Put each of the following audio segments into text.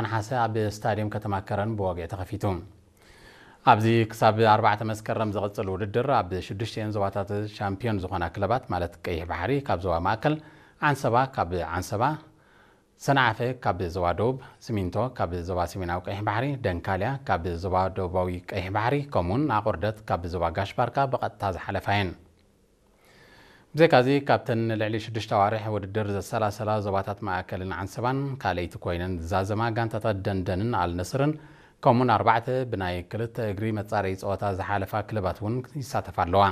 ነሓሰ ኣብ ስታድየም ከተማ ከረን ብወግዒ ተኸፊቱ። ኣብዚ ክሳብ ኣርባዕተ መስከረም ዝቕጽል ውድድር ኣብ ሽዱሽቲኤን ዞባታት ሻምፒዮን ዝኾና ክለባት፣ ማለት ቀይሕ ባሕሪ ካብ ዞባ ማእከል፣ ዓንሰባ ካብ ዓንሰባ፣ ሰንዓፈ ካብ ዞባ ደቡብ፣ ሲሚንቶ ካብ ዞባ ሰሜናዊ ቀይሕ ባሕሪ፣ ደንካልያ ካብ ዞባ ደቡባዊ ቀይሕ ባሕሪ፣ ከምኡውን ኣቑርደት ካብ ዞባ ጋሽ ባርካ ብቐጥታ ዝሓለፋ እየን። ብዘይካዚ ካብተን ንልዕሊ ሽዱሽተ ኣዋርሕ ውድድር ዘሰላሰላ ዞባታት ማእከልን ዓንሰባን ካልኣይቲ ኮይነን ዝዛዘማ ጋንታታት ደንደንን ኣልነስርን ከምኡን ኣርባዕተ ብናይ ክልተ እግሪ መጻረዪ ጸወታ ዝሓለፋ ክለባት እውን ይሳተፋ ኣለዋ።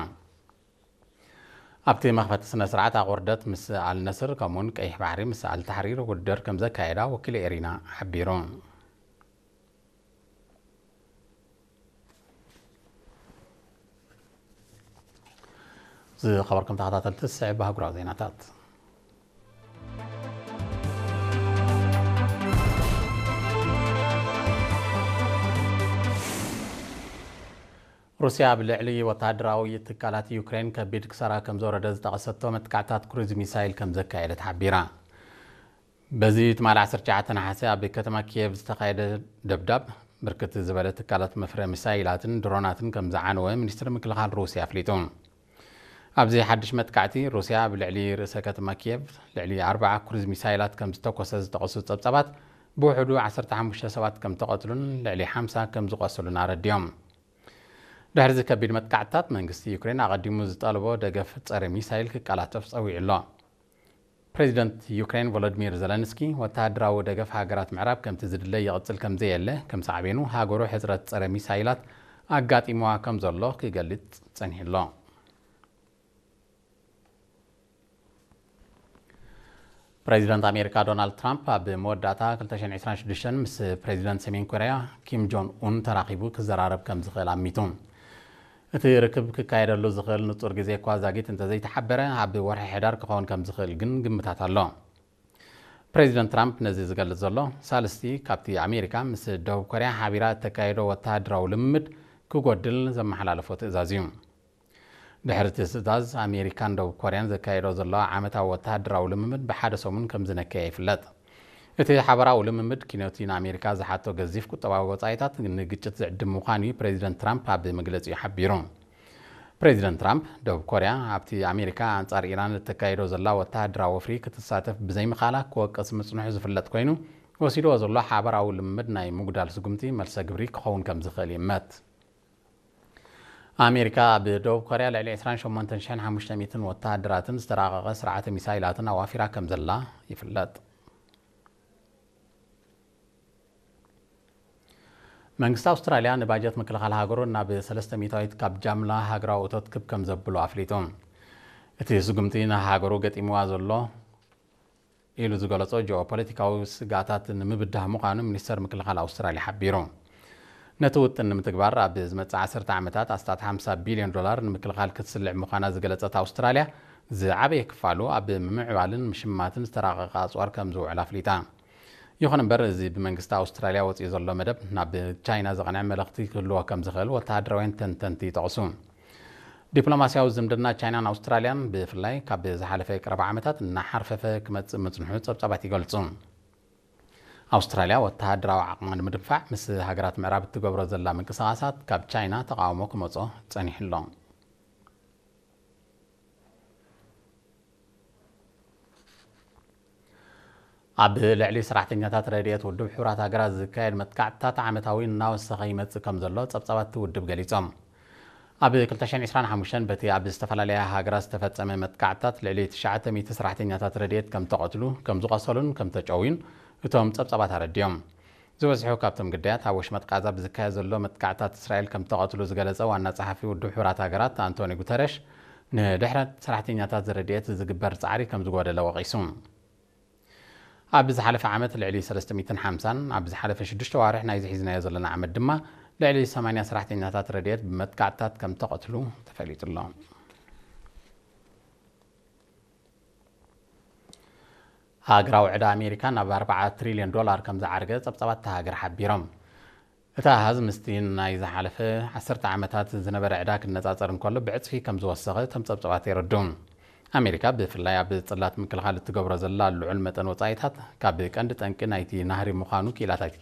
ኣብቲ መኽፈቲ ስነ ስርዓት ኣቑርደት ምስ ኣልነስር ከምኡን ቀይሕ ባሕሪ ምስ ኣልታሕሪር ውድድር ከም ዘካየዳ ወኪል ኤሪና ሓቢሩ። ዝኸበርኩም ተኸታተልቲ፣ ዝስዕብ ኣህጉራዊ ዜናታት። ሩስያ ኣብ ልዕሊ ወተሃደራዊ ትካላት ዩክሬን ከቢድ ክሳራ ከም ዘውረደ ዝጠቐሰቶ መጥቃዕታት ክሩዝ ሚሳይል ከም ዘካየደት ሓቢራ። በዚ ትማሊ ዓሰርተ ትሽዓተ ነሓሰ ኣብ ከተማ ኪየቭ ዝተኻየደ ደብዳብ፣ ብርክት ዝበለ ትካላት መፍረ ሚሳይላትን ድሮናትን ከም ዝዓነወ ሚኒስትሪ ምክልኻል ሩስያ ኣፍሊጡ። ኣብዚ ሓድሽ መጥቃዕቲ፣ ሩስያ ኣብ ልዕሊ ርእሰ ከተማ ኪየቭ ልዕሊ ኣርባዓ ክሩዝ ሚሳይላት ከም ዝተኮሰ ዝጠቐሱ ጸብጻባት፣ ብውሕዱ ዓሰርተ ሓሙሽተ ሰባት ከም ተቐትሉን ልዕሊ ሓምሳ ከም ዝቖሰሉን ኣረዲኦም። ድሕሪ እዚ ከቢድ መጥቃዕትታት፣ መንግስቲ ዩክሬን ኣቐዲሙ ዝጠለቦ ደገፍ ጸረ ሚሳይል ክቀላጠፍ ጸዊዑ ኣሎ። ፕሬዚደንት ዩክሬን ቮሎዲሚር ዘለንስኪ፣ ወተሃደራዊ ደገፍ ሃገራት ምዕራብ ከምቲ ዝድለ ይቕጽል ከም ዘየለ፣ ከም ሳዕቤኑ ሃገሩ ሕጽረት ጸረ ሚሳይላት ኣጋጢምዋ ከም ዘሎ ክገልጽ ጸኒሑ ኣሎ። ፕሬዚደንት ኣሜሪካ ዶናልድ ትራምፕ ኣብ መወዳእታ ክልተ ሽሕን ዕስራን ሽዱሽተን ምስ ፕሬዚደንት ሰሜን ኮርያ ኪም ጆን ኡን ተራኺቡ ክዘራረብ ከም ዝኽእል ኣሚቱ። እቲ ርክብ ክካየደሉ ዝኽእል ንጹር ግዜ እኳ ዛጊት እንተዘይተሓበረ፣ ኣብ ወርሒ ሕዳር ክኸውን ከም ዝኽእል ግን ግምታት ኣሎ። ፕሬዚደንት ትራምፕ ነዚ ዝገልጽ ዘሎ፣ ሳልስቲ ካብቲ ኣሜሪካ ምስ ደቡብ ኮርያ ሓቢራ እተካየዶ ወተሃደራዊ ልምምድ ክጎድል ዘመሓላለፎ ትእዛዝ እዩ። ድሕሪ እቲ ትእዛዝ፣ ኣሜሪካን ደቡብ ኮርያን ዘካየዶ ዘለዋ ዓመታዊ ወተሃደራዊ ልምምድ ብሓደ ሰሙን ከም ዝነከየ ይፍለጥ። እቲ ሓበራዊ ልምምድ ኪኖቲ ንኣሜሪካ ዝሓቶ ገዚፍ ቁጠባዊ ወጻኢታት ንግጭት ዝዕድም ምዃኑ እዩ ፕሬዚደንት ትራምፕ ኣብ መግለጺኡ ሓቢሩ። ፕሬዚደንት ትራምፕ፣ ደቡብ ኮርያ ኣብቲ ኣሜሪካ ኣንጻር ኢራን እተካይዶ ዘላ ወተሃደራዊ ወፍሪ ክትሳተፍ ብዘይምኻላ ክወቅስ ምጽንሑ ዝፍለጥ ኮይኑ፣ ወሲድዎ ዘሎ ሓበራዊ ልምምድ ናይ ምጉዳል ስጉምቲ መልሰ ግብሪ ክኸውን ከም ዝኽእል ይእመት። ኣሜሪካ ኣብ ደቡብ ኮርያ ልዕሊ ዕስራን ሸሞንተን ሽሕን ሓሙሽተ ሚእትን ወተሃደራትን ዝተራቐቐ ስርዓተ ሚሳይላትን ኣዋፊራ ከም ዘላ ይፍለጥ። መንግስቲ ኣውስትራልያ ንባጀት ምክልኻል ሃገሩ ናብ ሰለስተ ሚእታዊት ካብ ጃምላ ሃገራዊ እቶት ክብ ከም ዘብሎ ኣፍሊጡ። እቲ ስጉምቲ ንሃገሩ ገጢምዋ ዘሎ ኢሉ ዝገለጾ ጂኦፖለቲካዊ ስግኣታት ንምብዳህ ምዃኑ ሚኒስተር ምክልኻል ኣውስትራልያ ሓቢሩ። ነቲ ውጥን ንምትግባር ኣብ ዝመጽእ ዓሰርተ ዓመታት ኣስታት ሓምሳ ቢልዮን ዶላር ንምክልኻል ክትስልዕ ምዃና ዝገለጸት ኣውስትራልያ፣ ዝዓበየ ክፋሉ ኣብ ምምዕባልን ምሽማትን ዝተራቐቐ ኣጽዋር ከም ዝውዕል ኣፍሊጣ። ይኹን እምበር፣ እዚ ብመንግስቲ ኣውስትራልያ ወጺኡ ዘሎ መደብ ናብ ቻይና ዘቕንዐ መልእኽቲ ክህልዎ ከም ዝኽእል ወተሃደራውያን ተንተንቲ ይጠቕሱ። ዲፕሎማስያዊ ዝምድና ቻይናን ኣውስትራልያን፣ ብፍላይ ካብ ዝሓለፈ ቀረባ ዓመታት እናሓርፈፈ ክመጽእ ምጽንሑ ጸብጻባት ይገልጹ። ኣውስትራልያ ወተሃደራዊ ዓቕማ ንምድንፋዕ ምስ ሃገራት ምዕራብ እትገብሮ ዘላ ምንቅስቓሳት ካብ ቻይና ተቓውሞ ክመጾ ጸኒሑ ኣሎ። ኣብ ልዕሊ ሰራሕተኛታት ረድኤት ውድብ ሕቡራት ሃገራት ዝካየድ መጥቃዕትታት ዓመታዊ እናወሰኸ ይመጽእ ከም ዘሎ ጸብጻባት እቲ ውድብ ገሊጾም። ኣብ ክልተ ሽሕን ዕስራን ሓሙሽተን በቲ ኣብ ዝተፈላለያ ሃገራት ዝተፈጸመ መጥቃዕትታት ልዕሊ ትሽዓተ ሚእቲ ሰራሕተኛታት ረድኤት ከም ተቐትሉ፣ ከም ዝቖሰሉን ከም ተጨውዩን እቶም ጸብጻባት ኣረዲኦም። ዝበዝሑ ካብቶም ግዳያት ኣብ ወሽመጥ ቃዛ ብዝካየድ ዘሎ መጥቃዕትታት እስራኤል ከም ተቐትሉ ዝገለጸ ዋና ጸሓፊ ውድብ ሕቡራት ሃገራት ኣንቶኒ ጉተረሽ፣ ንድሕረት ሰራሕተኛታት ረድኤት ዝግበር ጻዕሪ ከም ዝጎደለ ወቒሱ። ኣብ ዝሓለፈ ዓመት ልዕሊ ሰለስተ ሚእትን ሓምሳን፣ ኣብ ዝሓለፈ ሽዱሽተ ዋርሕ ናይዚ ሒዝናዮ ዘለና ዓመት ድማ ልዕሊ ሰማንያ ሰራሕተኛታት ረድኤት ብመጥቃዕትታት ከም ተቐትሉ ተፈሊጡ ኣሎ። ሃገራዊ ዕዳ ኣሜሪካ ናብ ኣርባዓ ትሪልዮን ዶላር ከም ዝዓርገ ጸብጻባት እታ ሃገር ሓቢሮም። እቲ ኣሃዝ ምስቲ ናይ ዝሓለፈ ዓሰርተ ዓመታት ዝነበረ ዕዳ ክነጻጸር እንከሎ ብዕጽፊ ከም ዝወሰኸ እቶም ጸብጻባት የረድኡ። ኣሜሪካ ብፍላይ ኣብ ጽላት ምክልኻል እትገብሮ ዘላ ልዑል መጠን ወጻኢታት ካብ ቀንዲ ጠንቂ ናይቲ ናህሪ ምዃኑ ክኢላታት